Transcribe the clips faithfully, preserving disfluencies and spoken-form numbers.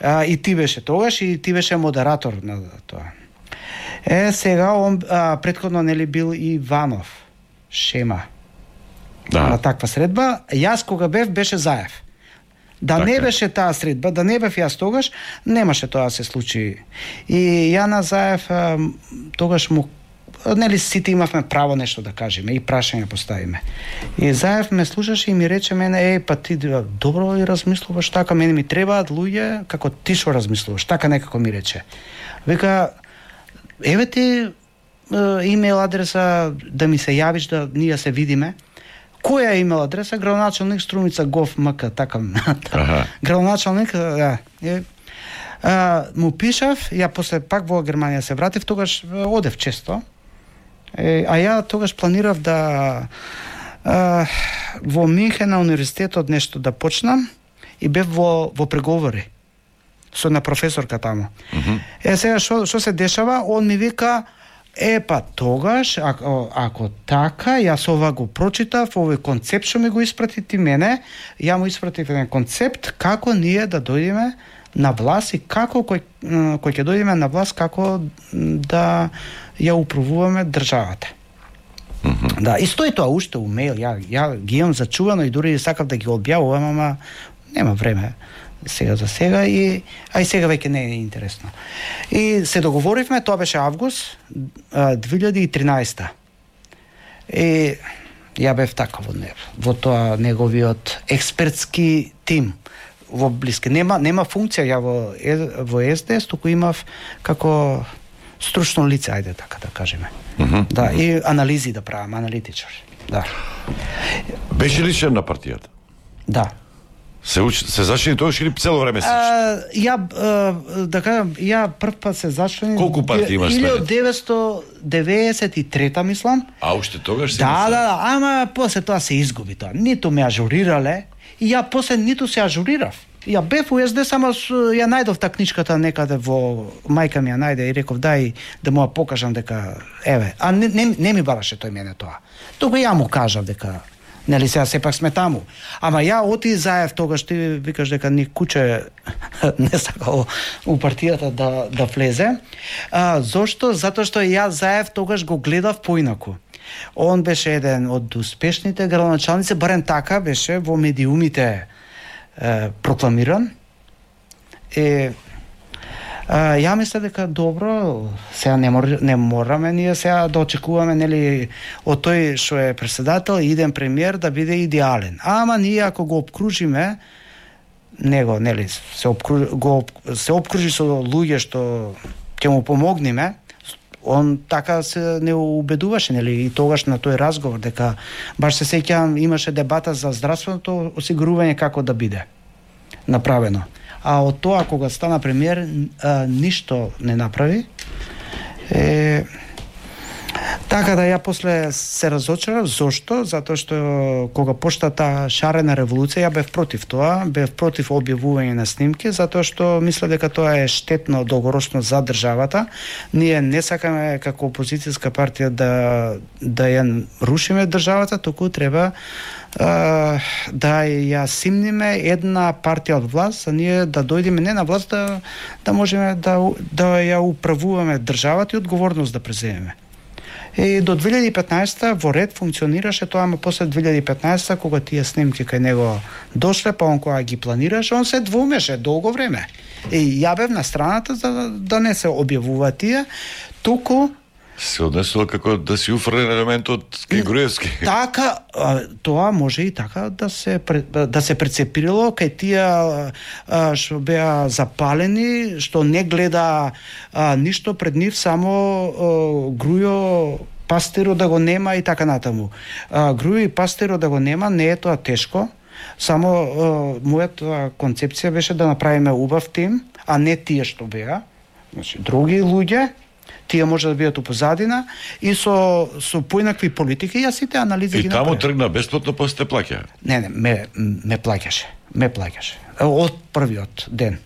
А, и ти беше тогаш и ти беше модератор на тоа. Е, сега он а, претходно нели бил и Иванов, Шема. Да. На таква средба, јас кога бев беше Заев. Да така. Не беше таа средба, да не бев јас тогаш, немаше тоа да се случи. И ја на Заев а, тогаш му нели сите имавме право нешто да кажеме и прашање поставиме. И Заев ме слушаше и ми рече мене, еј, па ти добро и размислуваш така, мене ми требаат луѓе како ти што размислуваш, така некако ми рече. Вика, еве ти имейл адреса да ми се јавиш да ние се видиме. Која е имейл адреса? Градоначалник Струмица Гов МК, така. Ага. Градоначалник, да. Е, а, му пишав, ја после пак во Германија се вратив, тогаш одев често. Е, а ја тогаш планирав да а, во Минхен на универзитетот нешто да почнам и бев во, во преговори со на професорка таму. Mm-hmm. Е, сега што што се дешава? Он ми вика, е, па тогаш, ако, ако така, јас ова го прочитав, овој концепт што ми го испрати ти мене, ја му испратив еден концепт како ние да дојдеме на власт и како кој, кој ќе дојдеме на власт, како да ја управуваме државата. Mm-hmm. Да, и стои тоа уште у мејл, ја, ја ги имам зачувано и дури сакав да ги објавувам, ама нема време сега за сега и а и сега веќе не е интересно. И се договоривме, тоа беше август две илјади и тринаесета. И ја бев така во него, во тоа неговиот експертски тим во блиски. Нема нема функција ја во во Ес Де Ес, туку имав како стручно лице, ајде така да кажеме. Mm-hmm. Да, и анализи да правам, аналитичар. Да. Беше ли член на партијата? Да. Се уч... се зачини тоа или цело време се учи? Ја а, да кажам, ја прв пат се зачини. Колку партии имаш след? илјадесет деветстотини деветдесет и трета мислам. А уште тогаш се Да, да, да, ама после тоа се изгуби тоа. Ниту ме ажурирале и ја после ниту се ажурирав. Ја бев у Ес Де Ес, ама ја најдов та книжката некаде во мајка ми ја најде и реков дај да му ја покажам дека еве, а не, не, не ми бараше тој мене тоа. Туку ја му кажав дека нели сега сепак сме таму. Ама ја оти Заев тогаш ти викаш дека ни куче не сакал у партијата да да влезе. А, зошто? Затоа што ја Заев тогаш го гледав поинаку. Он беше еден од успешните градоначалници, барем така беше во медиумите е, прокламиран. Е, А, ја мисля дека добро, сега не, мор, не мораме ние сега да очекуваме нели од тој што е претседател и иден премиер да биде идеален. Ама ние ако го обкружиме него, нели се обкружи, го се обкружи со луѓе што ќе му помогнеме, он така се не убедуваше, нели, и тогаш на тој разговор дека баш се сеќавам имаше дебата за здравственото осигурување како да биде направено. А од тоа кога стана премиер а, ништо не направи. Е, така да ја после се разочарав. Зошто? Затоа што кога почна таа шарена револуција, ја бев против тоа, бев против објавување на снимки, затоа што мисля дека тоа е штетно долгороčno за државата. Ние не сакаме како опозицијска партија да да ја рушиме државата, туку треба Uh, да ја симниме една партија од власт, а ние да дојдеме не на власт, да, да можеме да, да ја управуваме државата и одговорност да преземеме. И до две илјади и петнаесета во ред функционираше тоа, ама после две илјади и петнаесета кога тие снимки кај него дошле, па он кога ги планираше, он се двумеше долго време. И ја бев на страната за да не се објавуваат тие, туку се однесува како да си уфрлен елементот кај Груевски. Така, тоа може и така да се да се прецепирало кај тие што беа запалени, што не гледа а, ништо пред нив, само а, Грујо Пастеро да го нема и така натаму. А, Грујо и Пастеро да го нема не е тоа тешко, само а, мојата концепција беше да направиме убав тим, а не тие што беа, значи други луѓе. Тие може да бидат у позадина и со со поинакви политики, јас сите анализи и ги таму направив. тргна бесплатно, после те плаќа. Не, не, ме ме плаќаше. Ме плаќаше. Од првиот ден.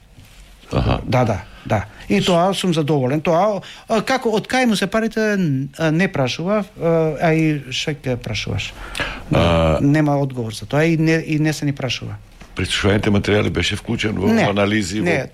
Аха. Да, да, да. И тоа сум задоволен. Тоа како од кај му се парите не прашував, а и што ќе прашуваш. А... Нема одговор за тоа и не и не се ни прашува. Пресушуваните материјали беше вклучен во не, анализи? Не, во...